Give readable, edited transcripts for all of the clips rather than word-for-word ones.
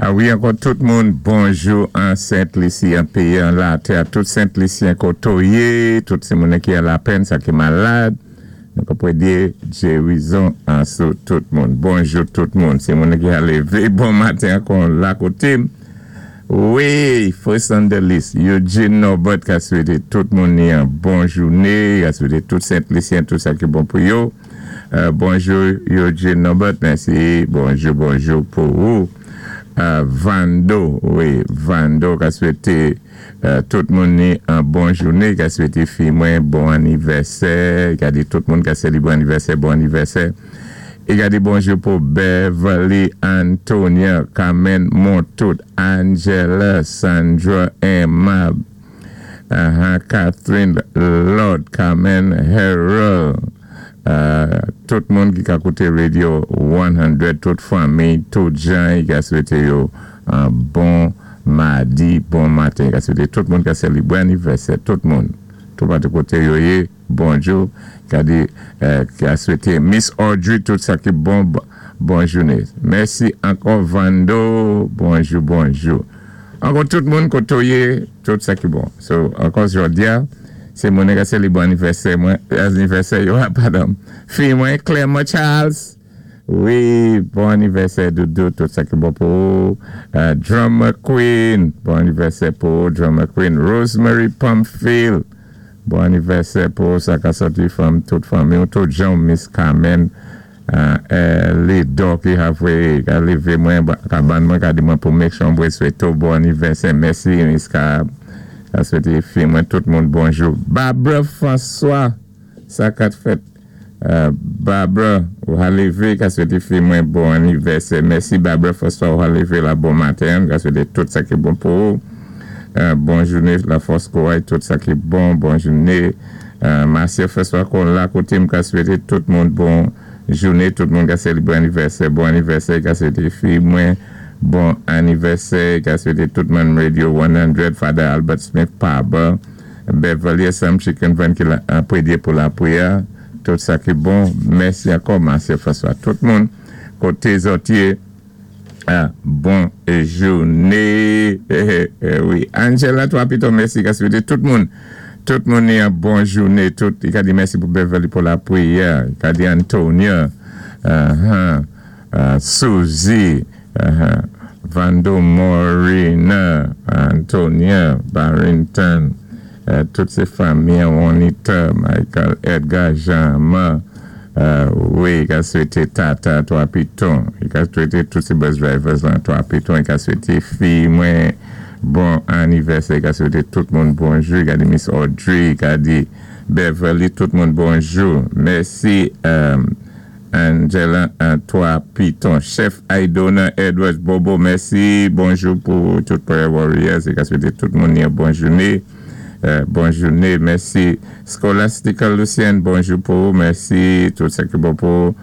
A wi, ankò tout moun, bonjou an Sent Lisi, an péyi, an latè, tout Sent Lisyen koto yé, tout sé moun ki an lapenn, sa ki malad, nou ka pwédyé gérizon an sou tout moun. Bonjou tout moun, sé moun ki a lévé bon maten ankò la koté-m. Wi, first on the list, Eugene Norbert ka swété tout moun ni an bon jouné, ka swété tout Sent Lisyen tout sa ki bon pou yo. Bonjou Eugene Norbert, mèsi, bonjou bonjou pou ou. Vando, wi, Vando ka swété tout moun ni an bon jouné, ka swété fi mwen bon anivèsè, ka di tout moun ka sélébré anivèsè, bon anivèsè. É ka di bonjou pou Beverly Antonia, Carmen Montout, Angela, Sandra Emma, Catherine Lord, Carmen Harold, tout moun ki ka kouté Radio 100, tout fanmi, tout jan, i ka swété yo an bon madi, bon maten, i ka swété tout moun ka sélébré anivèsè, tout moun, tout patou koté yo yé, bonjou, ka di, ka swété Miss Audrey tout sa ki bon, bon jouné. Mèsi ankò Vando, bonjou, bonjou. Ankò tout moun koto yé, tout sa ki bon. So, ankò jòdi-a, sé moun ka sélébré anivèsè mwen, anivèsè yo, padon, fi mwen Clermont Charles, wi, bon anivèsè doudou, tout sa ki bon pou ou. Drummer Queen, bon anivèsè pou ou, Drummer Queen. Rosemary Pumpfield, bon anivèsè pou ou, sa ka sòti from tout fanmi ou, tout jan Miss Carmen, Lidò ki havwe, ka lévé mwen, ka ban mwen, ka di mwen pou make sure mwen swété ou bon anivèsè. Mèsi Miss Ka, ka swété fi mwen tout moun bonjou. Barbara François, sa kat fèt. Barbara, ou ha lévé, ka swété fi mwen bon anivèsè. Mèsi Barbara François, ou ha lévé la bon maten, ka swété tout sa ki bon pou ou. Bon jouné, la fòs kouray, tout sa ki bon, bon jouné. Marcia François kon la koté m ka swété tout moun bon jouné, tout moun ka sélébré anivèsè, bon anivèsè, ka swété fi mwen bon anivèsè, ka swété tout moun Radio 100, Father Albert Smith, Paba, Beverly Sam Chicken Van ki la pwédyé pou la pwiyè, tout sa ki bon. Mèsi ankò Marcia François, tout moun koté zòt yé, bon jouné. Wi, Angela 3 Piton, mèsi, ka swété tout moun ni an bon jouné, tout, i ka di mèsi pou Beverly pou la pwiyè, i ka di Antonia, Suzy, Vando Morina, Antonia, Barrington, tout sé fanmi, Juanita, Michael, Edgar, Jean-Ma, wi, i ka swété Tata 3 Piton, i ka swété tout sé bus drivers lan 3 Piton, i ka swété fi mwen bon anivèsè, i ka swété tout moun bonjou, i ka di Miss Audrey, i ka di Beverly, tout moun bonjou. Mèsi Angela 3 Piton. Chef Aidona Edwards Bobo, mèsi, bonjou pou tout Prayer Warriors, i ka swété tout moun yon bon jouné. Bon jouné, mèsi. Scholastica Lucien, bonjou pou ou, mèsi, tout sa ki bon pou ou.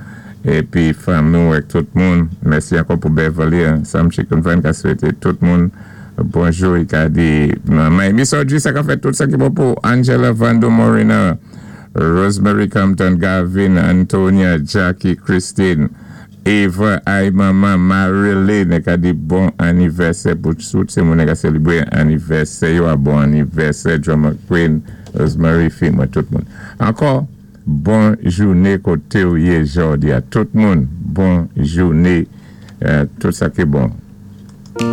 Épi fanmi ou ak tout moun. Mèsi ankò pou Beverly, Sam Chicken Van ka swété tout moun bonjou, i ka di manman Miss Audrey sa ka fè tout sa ki bon pou Angela Vando Morina, Rosemary Compton, Gavin, Antonia, Jackie, Christine, Eva, ay manman Marilyn ka di bon anivèsè pou tout sé moun ka sélébré anivèsè yo a bon anivèsè Drummer Queen, Rosemary, fi mwen tout moun. Ankò, bon jouné koté ou yé jòdi-a. Tout moun, bon jouné, tout sa ki bon.